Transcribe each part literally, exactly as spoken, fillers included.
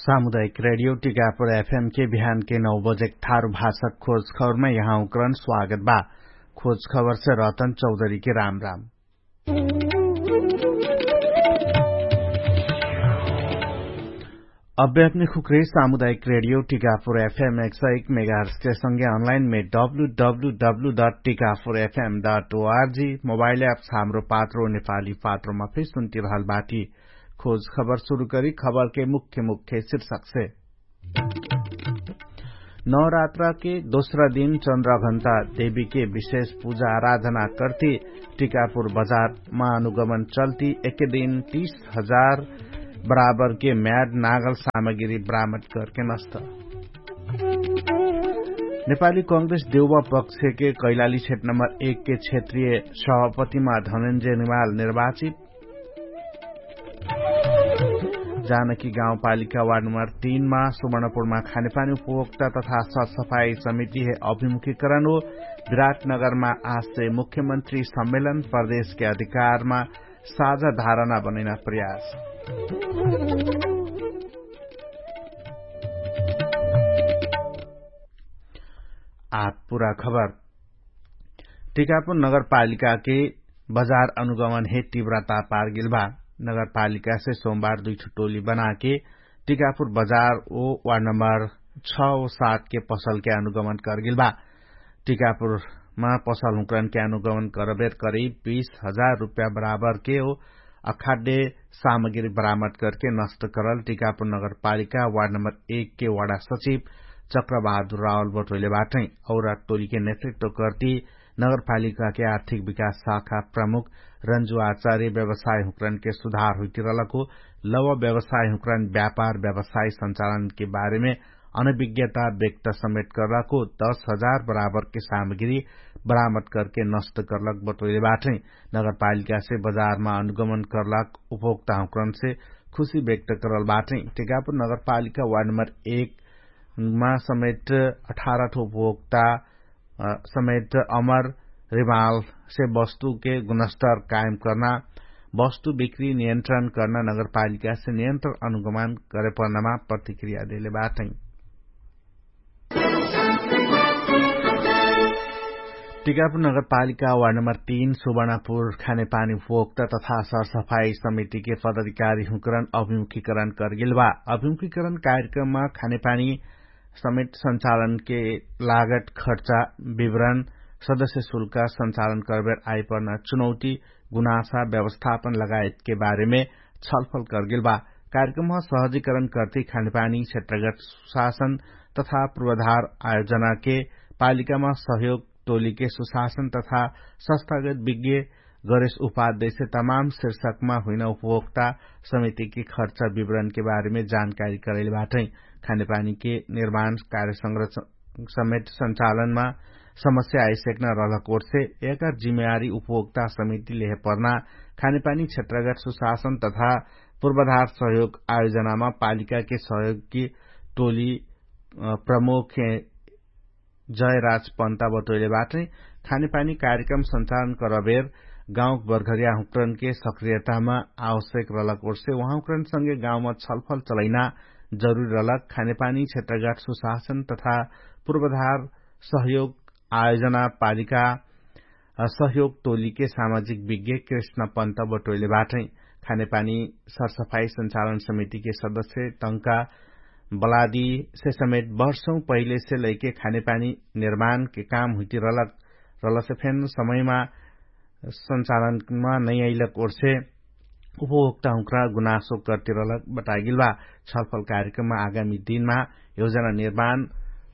सामुदायिक रेडियो टिकापुर एफएम के बिहान के नौ बजे थारु भाषा खोज खबरमा यहाँ उक्रन स्वागत बा। खोज खबर से रतन चौधरी के राम राम। अब्बे अपने खुक्रे सामुदायिक रेडियो टिकापुर एफएम एक सौ एक मेगाहर्स के संगे अनलाइन में W W W dot Tikapur F M dot O R G mobile apps Hamro Patro नेपाली पात्रोमा फिर सुन्ति रहल बाटी। खोज खबर सुरु करी खबर के मुख्य मुख्य शीर्षक से। नवरात्रा के दोस्रा दिन चन्द्रघण्टा देवी के विशेष पूजा आराधना कर्ति टिकापुर बजारमा अनुगमन चल्ति एके दिन तीस हजार बराबर के म्याड नागल सामग्री बरामद करके नस्त। नेपाली कांग्रेस देउवा पक्ष के कैलाली क्षेत्र नम्बर एक के क्षेत्रीय सभापतिमा धनन्जय निमाल निर्वाचित। जानकी गाउँपालिका वार्ड नम्बर तीन मा सुवर्णपुरमा खानेपानी उपभोक्ता तथा सरसफाई समिति हे अभिमुखीकरण हो। विराटनगरमा आज से मुख्यमन्त्री सम्मेलन प्रदेश के अधिकारमा साझा धारणा बनैना प्रयास। आठ पुरा खबर। टिकापुर नगरपालिका के बजार अनुगमन हे तीव्रता पार गेल बा। नगरपालिका से सोमबार दुई ठो टोली बना के टिकापुर बजार ओ वार्ड नम्बर छ ओ सात के पसल के अनुगमन कर गेल बा। टिकापुर मा पसल हुँकरन के अनुगमन करबेर करीब बीस हजार रुपया बराबर के ओ अखाद्य सामग्री बरामद करके नष्ट करल टिकापुर नगरपालिका वार्ड नम्बर एक के वार्ड सचिव चक्रबहादुर रावल बटोइले बाटै। औरा टोली के नेतृत्व करती नगरपालिका के आर्थिक विकास शाखा प्रमुख रंजु आचार्य व्यवसाय हुँकरन के सुधार हुइतिरलको लव व्यवसाय हुँकरन व्यापार व्यवसाय संचालन के बारेमे अनविज्ञता व्यक्त समेट करलको दस हजार बराबर के सामग्री बरामद करके नष्ट करलक बटोइले बाटै। नगरपालिका से बजारमा अनुगमन करलक उपभोक्ता हुँकरन से खुशी व्यक्त करल बाटै। टिकापुर नगरपालिका वार्ड नम्बर एक मा समेट अठारह ठो उपभोक्ता समेट अमर रिमाल से वस्तु के गुणस्तर कायम कर्ना वस्तु बिक्री नियन्त्रण कर्ना नगरपालिका से नियन्त्रण अनुगमन करेपर्नामा प्रतिक्रिया देले बाटै। टिकापुर नगरपालिका वार्ड नम्बर तीन सुवर्णापुर खानेपानी उपभोक्ता तथा सरसफाई समिति के पदाधिकारी हुँकरण अभिमुखीकरण करगेल बा। अभिमुखीकरण कार्यक्रममा खानेपानी समेट संचालन के लागत खर्चा विवरण सदस्य शुल्क संचालन करबेर आइपर्ना चुनौती गुनासा व्यवस्थापन लगायत के बारेमे छलफल करगेल बा। कार्यक्रममा सहजीकरण कर्ती खानेपानी क्षेत्रगत सुशासन तथा पूर्वाधार आयोजना के पालिकामा सहयोग टोली के सुशासन तथा संस्थागत विज्ञ गरेश उपाध्यक्ष तमाम शीर्षकमा हुइना उपभोक्ता समिति के खर्च विवरण के बारेमे जानकारी करैले बाटै। खानेपानी के निर्माण कार्य संरक्षण समेट संचालनमा समस्या आइसक्न रहलक ओर्से एकर जिम्मेवारी उपभोक्ता समिति लेहे पर्ना खानेपानी क्षेत्रगत सुशासन तथा पूर्वाधार सहयोग आयोजनामा पालिका के सहयोग कि टोली प्रमुख जयराज पन्ता बटोइले बाटै। खानेपानी कार्यक्रम संचालन करबेर गाउँ बर्घरिया हुँकरन के सक्रियतामा आवश्यक रहलक ओर्से उहाँ हुँकरन संगे गाउँमा छलफल चलैना जरुरी रहलक। खानेपानी क्षेत्रगत सुशासन तथा पूर्वाधार सहयोग आयोजना पालिका सहयोग टोली के सामाजिक विज्ञ कृष्ण पन्त बटोइले बाटै। खानेपानी सरसफाई संचालन समिति के सदस्य टंका बलादी से समेट वर्षौं पहिले से लैके खानेपानी निर्माण के काम हुइती रहलक रहलसे फेन समयमा संचालनमा नै अइलक ओर्से उपभोक्ता हुँक्रा गुनासो करती रहलक बतागेल बा। छलफल कार्यक्रममा आगामी दिनमा योजना निर्माण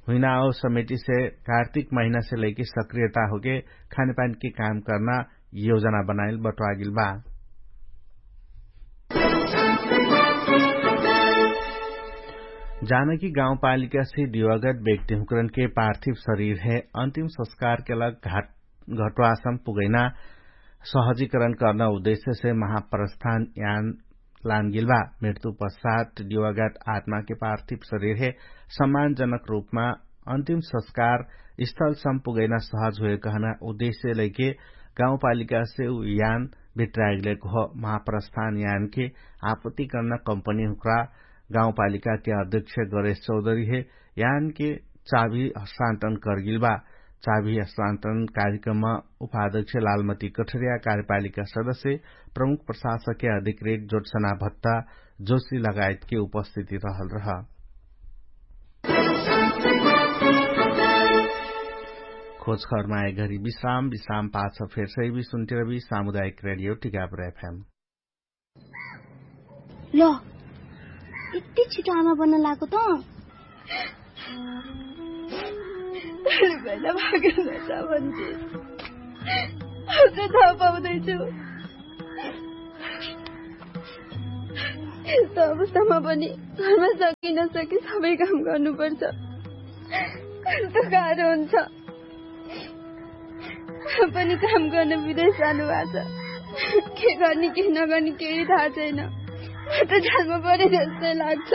हुइना और समिति से कार्तिक महिना से लैके सक्रियता होके खानेपानी के काम कर्ना योजना बनाइल बटवागेल बा। जानकी गाउँपालिका से दिवागत व्यक्ति हुँकरन के पार्थिव शरीर है अन्तिम संस्कार के लग घाट घटवासम पुगैना सहजीकरण कर्ना उद्देश्य से महाप्रस्थान यान लानगेल बा। मृत्यु पश्चात दिवागत आत्मा के पार्थिव शरीर है सम्मानजनक रूपमा अन्तिम संस्कार स्थल सम पुगैना सहज हुए कहना उद्देश्य लैके गाउँपालिका से उ यान भित्रागेल कह। महाप्रस्थान यान के आपत्ति कर्ना कम्पनी हुँक्रा गाउँपालिकाके अध्यक्ष गणेश चौधरी हे यानके चाभी हस्तान्तरण कर्गिल बा। चाभी हस्तान्तरण कार्यक्रममा उपाध्यक्ष लालमती कठरिया कार्यपालिका सदस्य प्रमुख प्रशासकके अधिकृत जोटसना भत्ता जोशी लगायतके उपस्थिति रहल रह। खोजखरमा एघरी विश्राम विश्राम पाछ फेर सही भी सुन्टिरबी सामुदायिक रेडियो टिकापुर एफएम। ल, यति छिटो आमा बन्न लागो त? तैँले पहिला भागेर नजा भन्छे। अझ थाहा पाउँदैछु। यस्तो अवस्थामा पनि घरमा सकि नसकि सबै काम गर्नुपर्छ। कस्तो गाह्रो हुन्छ। पनि काम गर्न विदेश जानुभएको छ। के गर्ने के नगर्ने केही थाहा छैन। म त जालमा परे जस्तै लाग्छ।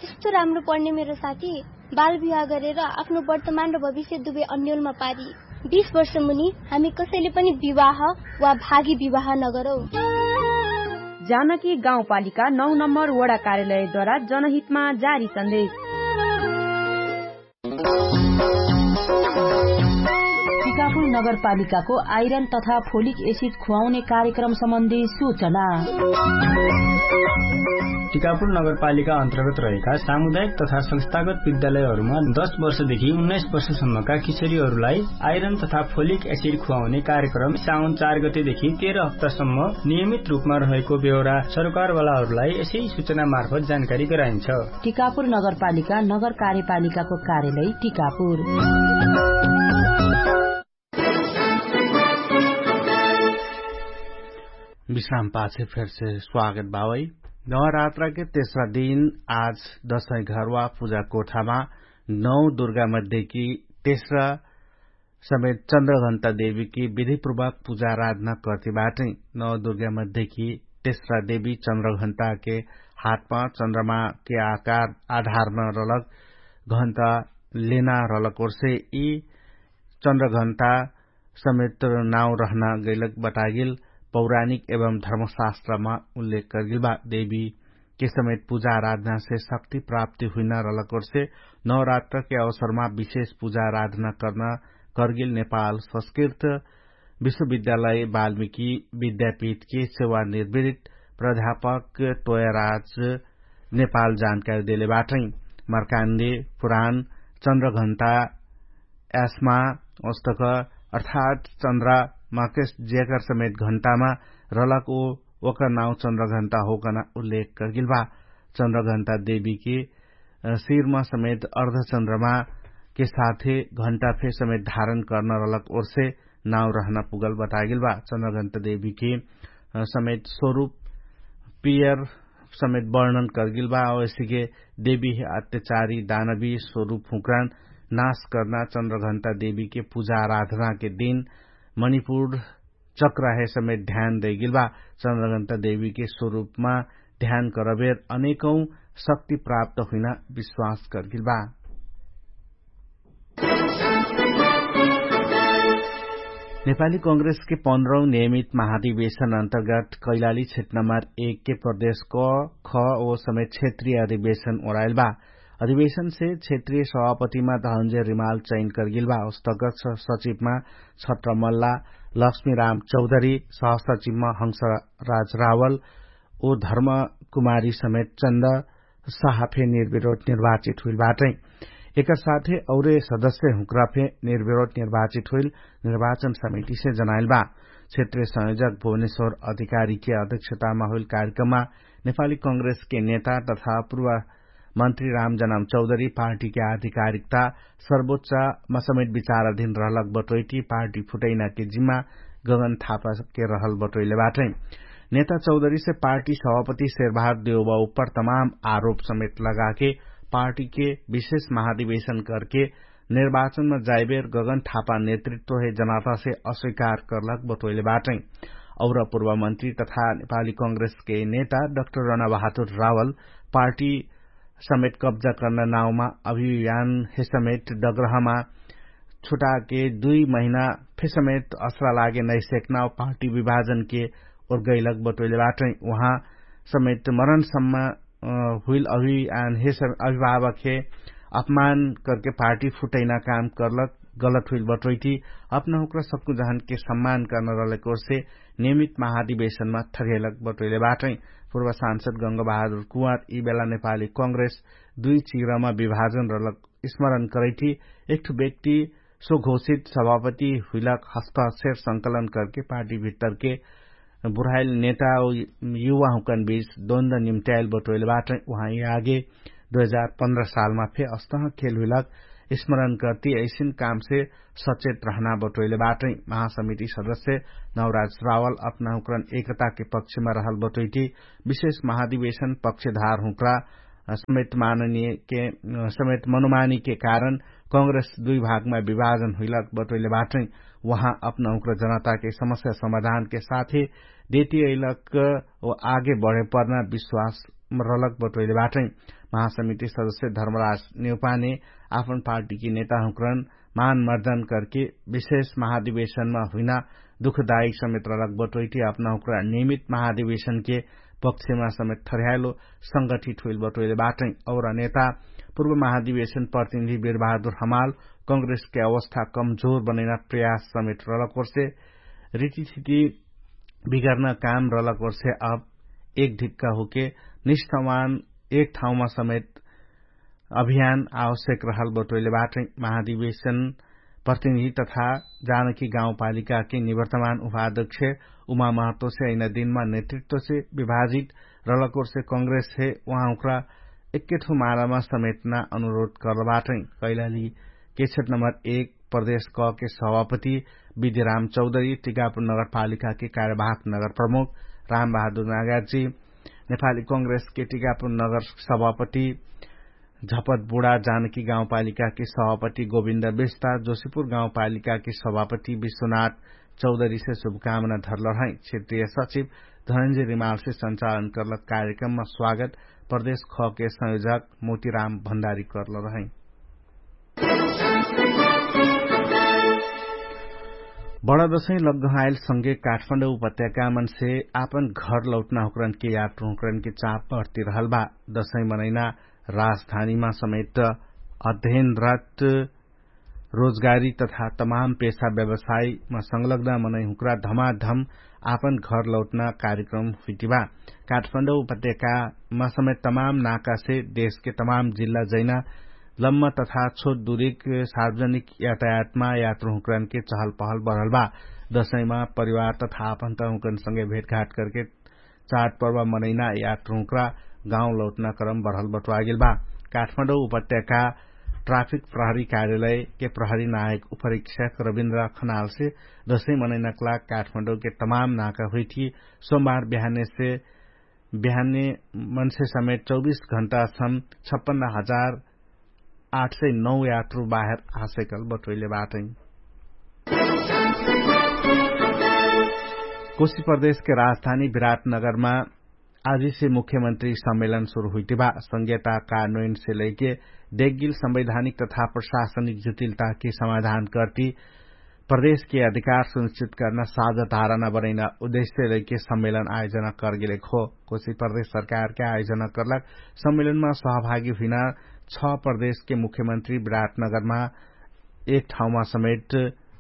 यस्तो राम्रो पढ्ने मेरो साथी बाल विवाह गरेर आफ्नो वर्तमान र भविष्य दुवै अन्यलमा पारी। बिस वर्ष मुनि हामी कसैले पनि विवाह वा भागी विवाह नगरौ। जानकी गाउँपालिका नौ नम्बर वडा कार्यालयद्वारा जनहितमा जारी सन्देश। टिकापुर नगरपालिकाको आइरन तथा फोलिक एसिड खुवाउने कार्यक्रम सम्बन्धी सूचना। टिकापुर नगरपालिका अन्तर्गत रहेका सामुदायिक तथा संस्थागत विद्यालयहरूमा दस वर्षदेखि उन्नाइस वर्षसम्मका किशोरीहरूलाई आइरन तथा फोलिक एसिड खुवाउने कार्यक्रम साउन चार गतेदेखि तेह्र हप्तासम्म नियमित रूपमा रहेको बेहोरा सरकारवालाहरूलाई यसै सूचना मार्फत जानकारी गराइन्छ। टिकापुर नगरपालिका नगर कार्यपालिकाको कार्यालय टिकापुर। विश्राम पाछे फेरसे स्वागत बावै। नवरात्रके तेस्रा दिन आज दशै घरवा पुजा कोठामा नौ दुर्गा मध्येकी तेस्रा समेत चन्द्रघन्ता देवीकी विधिपूर्वक पुजा आराधना कर्ति बाटै। नौ दुर्गा मध्येकी तेस्रा देवी चन्द्रघन्ताके हातमा चन्द्रमाके आकार आधारमा रलक घन्ता लेना रलक ओर्से यी चन्द्रघन्ता समेत नाउ रहना गैलक बतागेल पौराणिक एवं धर्मशास्त्रमा उल्लेख कर्गेल बा। देवी के समेत पुजा आराधनासे शक्ति प्राप्ति हुइना रलक ओर्से नवरात्रके अवसरमा विशेष पुजा आराधना कर्ना कर्गेल नेपाल संस्कृत विश्वविद्यालय वाल्मिकी विद्यापीठके सेवा निर्वृत प्राध्यापक तोयराज नेपाल जानकारी देले बाटै। मर्कान्डे पुराण चन्द्रघन्ता यास्मा ओस्तक अर्थात चन्द्रमाके ज्याकर समेत घन्टामा रलक ओ ओकर नाउ चन्द्रघन्ता होकना उल्लेख कर्गेल बा। चन्द्रघन्ता देवीके शिरमा समेत अर्धचन्द्रमाके साथे घन्टा फे समेत धारण कर्न रलक ओर्से नाउ रहना पुगल बतागेल बा। चन्द्रघन्ता देवीके समेत स्वरूप पियर समेत वर्णन कर्गेल बा। औसिके देवी अत्यचारी दानवी स्वरूप हुँक्रान नाश कर्ना चन्द्रघन्ता देवीके पुजा आराधनाके दिन मणिपुर चक्राहे समेत ध्यान दैगेल बा। चन्द्रघन्ता देवीके स्वरूपमा ध्यान करबेर अनेकौं शक्ति प्राप्त हुइना विश्वास कर्गेल बा। नेपाली कांग्रेसके पन्ध्रौं नियमित महाधिवेशन अन्तर्गत कैलाली क्षेत्र नम्बर एकके प्रदेश क ख ओ समेत क्षेत्रीय अधिवेशन ओराइल बा। अधिवेशनसे क्षेत्रीय सभापतिमा धनन्जय रिमाल चयन कर्गेल बा। अस्तगत सचिवमा छत्रमल्ला लक्ष्मीराम चौधरी सहसचिवमा हंसराज रावल ओ धर्मकुमारी समेत चन्द साहा फे निर्विरोध निर्वाचित हुइल बाटै। एकर साथे औरे सदस्य हुँक्रा फे निर्विरोध निर्वाचित हुइल निर्वाचन समितिसे जनाइल बा। क्षेत्रीय संयोजक भुवनेश्वर अधिकारीके अध्यक्षतामा हुइल कार्यक्रममा नेपाली कांग्रेसके नेता तथा पूर्व मन्त्री रामजनाम चौधरी पार्टीके आधिकारिकता सर्वोच्चमा समेत विचाराधीन रहलक बटोइटी पार्टी फुटैनाके जिम्मा गगन थापाके रहल बटोइले बाटै। नेता चौधरीसे पार्टी सभापति शेरबहार देउबा उप्पर तमाम आरोप समेत लगाके पार्टीके विशेष महाधिवेशन करके निर्वाचनमा जाइबेर गगन थापा नेतृत्वहे जनातासे अस्वीकार कर्लक बटोइले बाटै। और पूर्व मन्त्री तथा नेपाली कांग्रेसके नेता डाक्टर रणाबहादुर रावल पार्टी समेत कब्जा कर्ना नाउँमा अभियान हे समेत डग्रहमा छुटाके दुई महिना फे समेत असरा लागे नैसेक्ना पार्टी विभाजनके ओर्गैलक बटोइले बाटै। उहाँ समेत मरणसम्म हुइल अभियान हे अभिभावक हे अपमान करके पार्टी फुटैना काम करलक गलत हुइल बटोइटी। अपना हुक्रा सक्कु जहनके सम्मान कर्न रहलक ओर्से नियमित महाधिवेशनमा थगेलक बटोइले बाटै। पुर्व सांसद गंग बहादुर कुवार यि बेला नेपाली कंग्रेस दुइ चिग्रमा विभाजन रहलक स्मरण करैठी। एकठु व्यक्ति सो घोषित सभापति हुइलक हस्तक्षेप संकलन करके पार्टी भित्तरके बुढाइल नेता युवा हुकन बीच द्वन्द निम्त्याइल बटोइल बाटै। उहाँ यि आगे दुइ हजार पन्ध्र सालमा फे अस्तह खेल हुइलक स्मरण करती ऐसिन कामसे सचेत रहना बटोइल बाटै। महासमिति सदस्य नवराज रावल अपना हुक्रन एकताके पक्षमा रहल बटोइटी विशेष महाधिवेशन पक्षधार हुक्रा समेत माननीय के समेत मनोमानी के कारण कंग्रेस दुइ भागमा विभाजन हुइलक बटोइले बाटै। उहाँ अपना हुक्रा जनताके समस्या समाधानके साथे देती अइलक आगे बढे पर्ना विश्वास रहलक बटोइले बाटै। महासमिति सदस्य धर्मराज नेउपाने आपन पार्टीके नेता हुक्रन मानमर्दन करके विशेष महाधिवेशनमा हुइना दुखदायक समेत रहलक बटोइटी अपना हुक्रा नियमित महाधिवेशनके पक्षमा समेत ठर्याइलो संगठित हुइल बटोइले बाटै। और नेता पूर्व महाधिवेशन प्रतिनिधि वीरबहादुर हमाल कंग्रेसके अवस्था कमजोर बनैना प्रयास समेत रहलक ओर्से रीतिथिति बिगर्न काम रहलक ओर्से अब एक ढिक्का होके निष्ठावान एक ठाउँमा समेत अभियान आवश्यक रहल बटोइले बाटै। महाधिवेशन प्रतिनिधि तथा जानकी गाउँपालिकाके निवर्तमान उपाध्यक्ष उमा महत्वसे ऐना दिनमा नेतृत्वसे विभाजित रहलक ओर्से कंग्रेससे उहाँ हुक्रा एक्केठो मालामा समेटना अनुरोध करल बाटै। कैलाली केक्षेत्र नम्बर एक प्रदेश क के सभापति विद्यराम चौधरी टिकापुर नगरपालिकाके कार्यवाहक नगर प्रमुख रामबहादुर नागाजी नेपाली कंग्रेसके टिकापुर नगर सभापति झपत बुढा जानकी गाउँपालिकाके सभापति गोविन्द बेस्ता जोशीपुर गाउँपालिकाके सभापति विश्वनाथ चौधरीसे शुभकामना धरल रहै। क्षेत्रीय सचिव धनन्जय रिमालसे संचालन करलक कार्यक्रममा स्वागत प्रदेश खके संयोजक मोतीराम भण्डारी करल रहै। बडा दसैं लग्गहाइल संगे काठमाडौं उपत्यका मनसे आपन घर लौटना हुक्रनके यात्रा हुक्रनके चाप बढती रहल बा। दसैं मनैना राजधानीमा समेत अध्ययनरत रोजगारी तथा तमाम पेशा व्यवसायमा संलग्न मनै हुक्रा धमाधम आपन घर लौटना कार्यक्रम हुइटिबा। काठमाडौं उपत्यकामा समेत तमाम नाकासे देशके तमाम जिल्ला जैना लम्म तथा छोट दुरिक सार्वजनिक यातायातमा यात्रहुँकरनके चहल पहल बढल बा। दसैमा परिवार तथा आपन्त हुँकरनसँगे भेटघाट करके चाड पर्व मनैना यात्रहुँकरा गाउँ लौटना क्रम बढल बटुवागेल बा। काठमाडौं उपत्यका ट्राफिक प्रहरी कार्यालयके प्रहरी नायक उपरीक्षक रविन्द्र खनालसे दसै मनैनकला काठमाडौंके तमाम नाका हुइठी सोमबार बिहानेसे बिहाने मन्से समेत चौबिस घण्टासम छप्पन्न हजार आठ सय नौ यात्रु बाहेर आसैकल बटोइले बाटै। कोशी प्रदेशके राजधानी विराटनगरमा आजिसे मुख्यमन्त्री सम्मेलन सुरु हुइटिबा संघ्यता कानोइनसे लैके देखगिल संवैधानिक तथा प्रशासनिक जुटिलताके समाधान कर्ति प्रदेशके अधिकार सुनिश्चित कर्ना साझा धारणा बनैना उद्देश्य लैके सम्मेलन आयोजना करगेलेक हो। कोशी प्रदेश सरकारके आयोजना कर्लक सम्मेलनमा सहभागी हुइना छ प्रदेशके मुख्यमन्त्री विराटनगरमा एक ठाउँमा समेट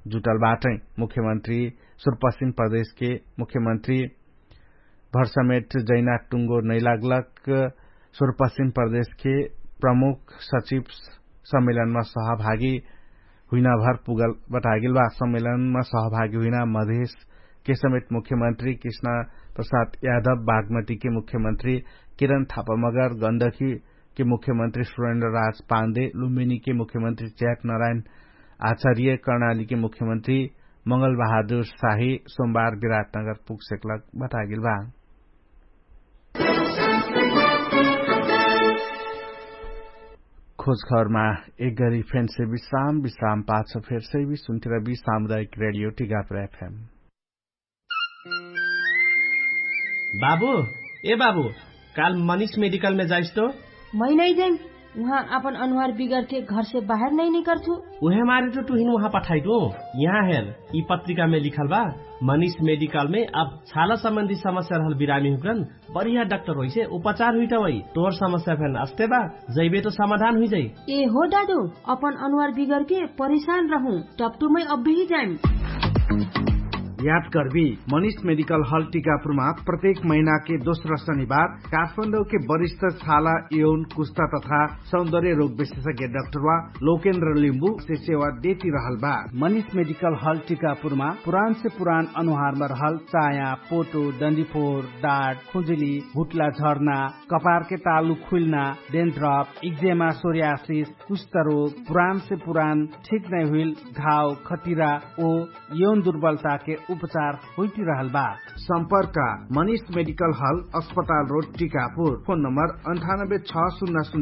जुटल बाटै। मुख्यमन्त्री सुरपश्चिम प्रदेशके मुख्यमन्त्री भरसमेट जैना टुङ्गो नैलागलक सुरपश्चिम प्रदेशके प्रमुख सचिव सम्मेलनमा सहभागी हुइनाभर पुगल बटागेल बा। सम्मेलनमा सहभागी हुइना मधेशके समेत मुख्यमन्त्री कृष्णा प्रसाद यादव बागमतीके मुख्यमन्त्री किरण थापामगर गन्दखीके मुख्यमन्त्री सुरेन्द्र राज पान्दे लुम्बिनीके मुख्यमन्त्री ज्याक नारायण आचार्य कर्णालीके मुख्यमन्त्री मंगल बहादुर साही सोमबार विराटनगर पुगसेकलक बटागेल बा। खोजखबरमा एक गरी फेन्से विश्राम विश्राम पाछ फेर्सै विश्वन्तिर विश्राम दायक रेडियो टिगाप्र एफएम। बाबु, ए बाबु, काल मनिष मेडिकलमे जाइस्तो? मै नै जाइम। उहाँ आपन अनुहार बिगरके घरसे बाहेर नै निकरथु। उहे मारे त टुहिन उहाँ पठाइटु। यहाँ हेर, यि पत्रिकामे लिखल बा, मनिष मेडिकलमे अब छाला सम्बन्धी समस्या रहल बिरामी हुक्रन, बढिया डाक्टर होइसे उपचार हुइटवै। तोर समस्या फेन अस्ते बा, जैबे त समाधान हुइजै। ए हो डाडु, अपन अनुहार बिगरके परिशान रहु, टप्टुमै अब्बेही जाइम। याद कर्बी, मनिष मेडिकल हल टिकापुरमा प्रत्येक महिनाके दोस्रा शनिबार काठमाडौके वरिष्ठ छाला, यौन, कुस्ता तथा सौन्दर्य रोग विशेषज्ञ डाक्टरवा लोकेन्द्र लिम्बु से सेवा देति रहल बा। मनिष मेडिकल हल टिकापुरमा पुरानसे पुरान अनुहारमा रहल चाया, पोटो, डन्डिफोर, डाट, खुजुली, हुट्ला झर्ना, कपारके तालु खुइल्ना, डेन्ड्रप, इक्जेमा, सोरियासिस, कुष्ठरोग, पुरानसे पुरान ठिक नै हुइल घाव, खटिरा, ओ यौन दुर्बलताके उपचार होइतिरहल बा। सम्पर्क, मनिष मेडिकल हल, अस्पताल रोड, टिकापुर। फोन नम्बर अन्ठानब्बे छ सुन्ना